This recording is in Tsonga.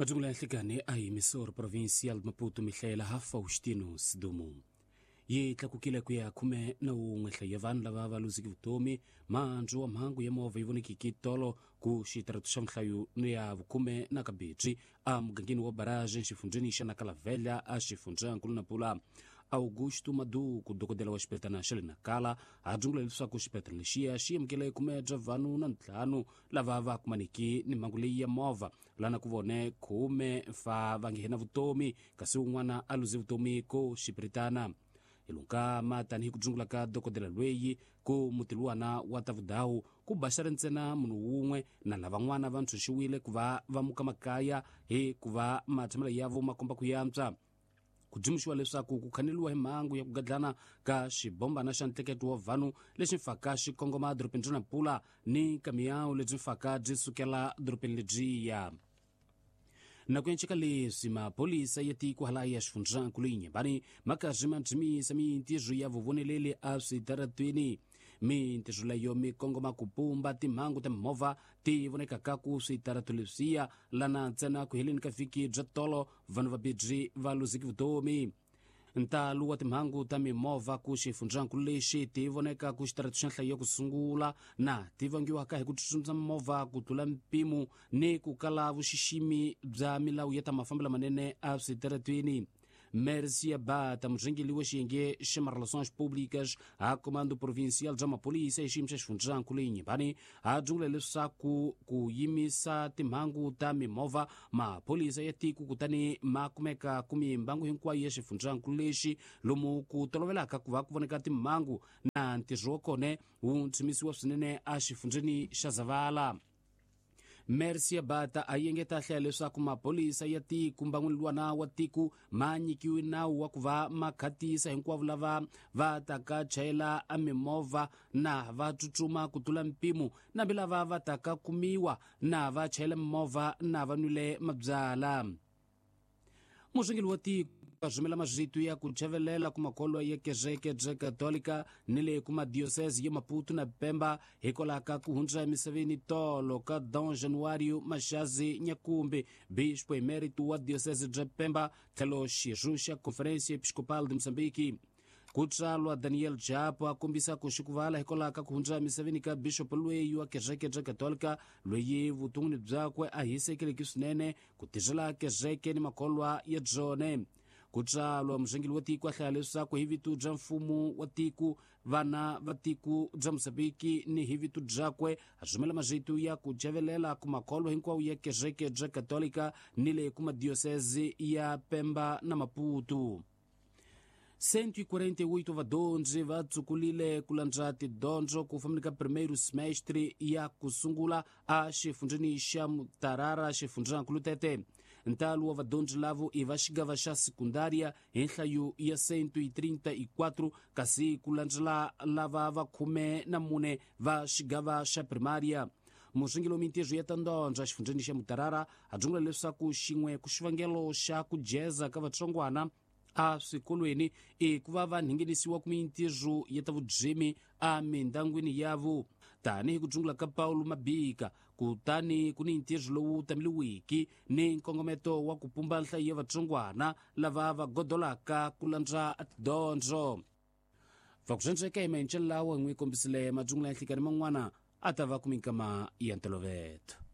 Majungula ya nhlikani a hi Mysore Provincial Maputo mihlayela ha Faustino Sidumo. Yi tlakukile ku ya 11 nhlayo ya vanhu lava va luziki vutomi mandzu wa mhangu ya movha yi vonekiki tolo ku xitaratu xa nhlayo ya vukhume na kabedzi a mugangeni wa Barage xifundzheni xa Nakalavela a xifundzankulu Nampula. Augusto Maduku, dokodela wa xibedlhela xa le Nakala, a dzungula leswaku xibedlhela lexiya xi amukele khume bya vanhu na ntlhanu lava va kumaniki ni mhangu leyi ya movha lana ku vone 10 fa va nghena vutomi kasi un'wana a luze vutomi ko xipiritana. Hilunkama tanihi ku dzungula ka dokodela lweyi ku mutiluwana wa ta vudawu ku baxare ntsena munhu wun'we na lavan'wana va ntshunxiwile ku va va muka makaya hi ku va matshamelo yavo ma komba ku yantswa. Ku dzumuxiwa leswaku ku khaneliwa hi mhangu ya ku gadlana ka xibombana xa ntleketo wa vanhu lexi mfaka xi kongoma dorobeni ra Nampula ni kamiyawu lebyi mfaka byi sukela dorobeni lebyiya. Nako ya nceka leswi maphorisa ya tiko hala ya xifundzankulu Inhambane ma karhi ma dzimisa mintirho ya vuvoneleli a switaratweni. Mintirho leyo mi kongoma ku pumba timhangu ta mimovha ti vonekaka ku switaratu leswiya lana ntsena ku heleni ka vhiki bya tolo vanhu vabirhi va luziki vutomi. Ntalo wa timhangu ta mimovha ku xifundzankulu lexi ti voneka ku xitaratu xa nhlayo ya ku sungula na ti vangiwaka hi ku tsutsumisa mimovha ku tlula mpimo ni ku kala vuxiximi bya milawu ya ta mafambelo manene a switaratweni. Mercia Bata, murhangeri wa xiyenge xa Relações Públicas a Comando Provincial bya Maphorisa hi xiyimo xa xifundzankulu Inhambane, a dzungula leswaku ku yimisa timhangu ta mimovha maphorisa ya tiko kutani ma kumeka ku mimbangu hinkwayo ya xifundzankulu lexi lomu ku tolovelaka ku va ku voneka timhangu na ntirho wa kona wu ntshimisiwa swinene a xifundzheni xa Zavala. Mercia Bata a yengeta hlaya leswaku maphorisa ya tiko mbangwini luwana wa tiko ma nyikiwe nawu wa ku va ma khatisa hinkwavo lava va taka chayela a mimovha na va tsutsuma ku tlula mpimo nambi lava va taka kumiwa na va chayela mimovha na va nwile mabyala. Murhangeri wa tiko a rhumela marito ya ku chavelela ku makholwa ya kereke bya Katolika ni le ku madiocese ya Maputo na Pemba hikwalaho ka ku hundza emisaveni tolo ka Dom Januário Mashazi Nyakumbi, bispo emérito wa diocese bya Pemba tlhelo xirho xa Conferência Episcopal de Moçambique. Ku tswalwa Daniel Chapo a kombisa ku xikuvala hikwalaho ka ku hundza emisaveni ka bishop loyi wa kereke bya Katolika loyi vuton'wini byakwe a hisekeleki swinene ku tirhela kereke ni makholwa ya byone. Ku tswalwa murhangeri wa tiko a hlaya leswaku hi vito bya mfumo wa tiko vana va tiko bya Mozambiki ni hi vito byakwe a rhumela marito ya ku chavelela ku makholwa hinkwawo ya kereke bya Katolika ni le ku madiocese ya Pemba na Maputo. 148 vadyondzi va tsukulile ku landza tidyondzo ku fambeni ka primeiro semestre ya ku sungula a xifundzheni xa Mutarara xifundzankulu Tete. Ntalo wa vadyondzi lavo i va xigava xa sekundária hi nhlayo ya 134 kasi ku landzela lava va 14 va xigava xa primária. Murhangeri wa mintirho ya tandondzo exifundzheni xa Mutarara a dzungula leswaku xin'we ku xivangelo xa ku jeza ka vatsongwana a swikolweni i ku va va nghenisiwa ku mintirho ya ta vudzimi a mindangwini yavo tanihi ku dzungula ka Paulo Mabika kutani ku ni ntirho lowu tameliwiki ni nkongometo wa ku pumba nhlayo ya vatsongwana lava va godolaka ku landza tidyondzo. Va ku swendzeka hi maenxelo lawa hi n'wi kombisile madzungula ya nhlikani man'wana a ta va ku minkama ya ntoloveto.